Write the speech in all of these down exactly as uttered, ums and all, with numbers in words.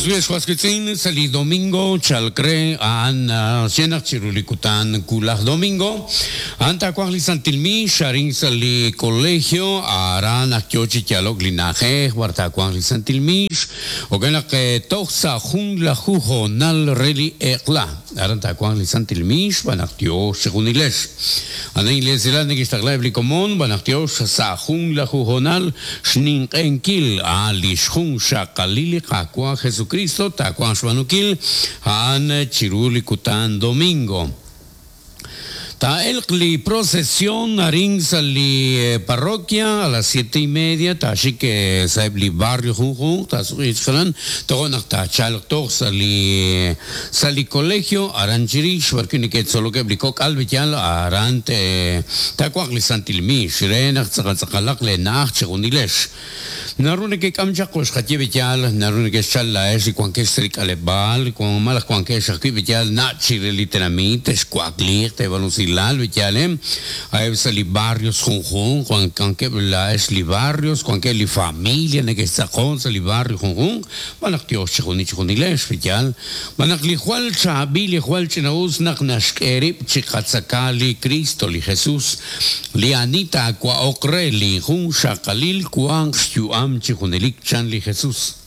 Oswitzin sali domingo chalcre an xenaq chirulikutan kulaj domingo anta kuaj li santilmi xarin sali colegio aran akyochi yalok linaje warta kuaj li santilmix okenaq toj sa jun la jujo nal reli eqla aran ta kuaj li santilmix banaqtio xjunilex ana iglesia nekixtaqla blikomon banaqtio sa jun la jujonal xninq'enkil a lixjun xaqalili qakua Jesucristo takuan xbanukil han chiruli kutan domingo. Ta el li procesión arin sali parroquia a las siete y media ta que saeb li barrio junjun ta suichkalan togonak ta chalk tog sali sali colegio aranchirix barkini que solo que blikok albityal arante ta kuak li santilmi shrenak tsaqalaq le naach chigunilesh narune que kamcha koxkatyebityal narune que chala es y cuanque srikalebal con malas cuanque xakibityal nachi literalmente escuakli te balusilal bityalem hay sali barrios junjun cuan canque la es li barrios cuanque li familia ne que sacon sali barrio junjun balak tio chiguni chigunilesh bityal balak li jual chabi li jual chinaus nak nashkerib chikatzakali Cristo li Jesús li anita kwa okre li jun xakalil kuan am chijunelik chan li Jesús.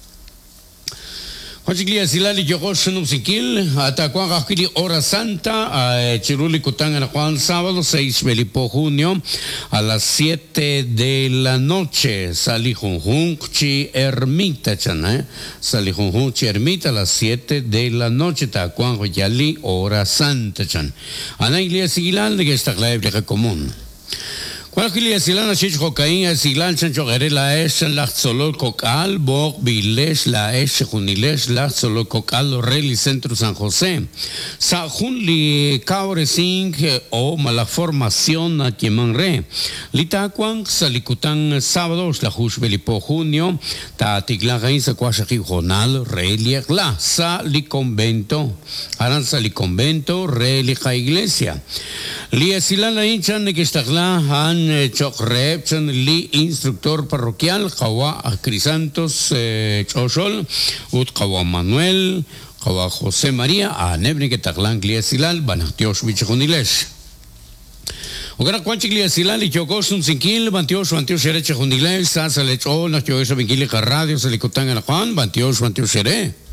Juan Silali Yogosh Nusikil, Atacuan Jajili Hora Santa, Chiruli Cután en Juan sábado seis de junio a las siete de la noche. Sali Junjun Chi Ermita, chan, eh? Sali Junjun Chi Ermita a las siete de la noche, Tacuan Yali Hora Santa, chan. Ana Iglesia Sigilal, de que está la común. Cual silana chich cocaína silan chancho la es la solo cocal bok biles la es juniles la solo cocal reli centro San José sa junli cabresing o mala formación a quiemanre litacuan salikutan sábados la jushbelipo junio ta tigla sa cuashaki jonal reliek la sa li convento aran sa li convento relica iglesia li silana hinchan que está han Chocrep, li instructor parroquial, Kawa Crisantos Choshol, Ut Kawa Manuel, Kawa José María, a Nebni que Taclan Gliasilal, Banatiosh Bichonilesh. Ogara cuanchiglia silal y chocos un sinquil, bantiosh, bantiosh, ereche junilesh, sasa lechol, nachiosh, vinquili, radio, salicotán, a Juan, bantiosh, bantiosh, ere.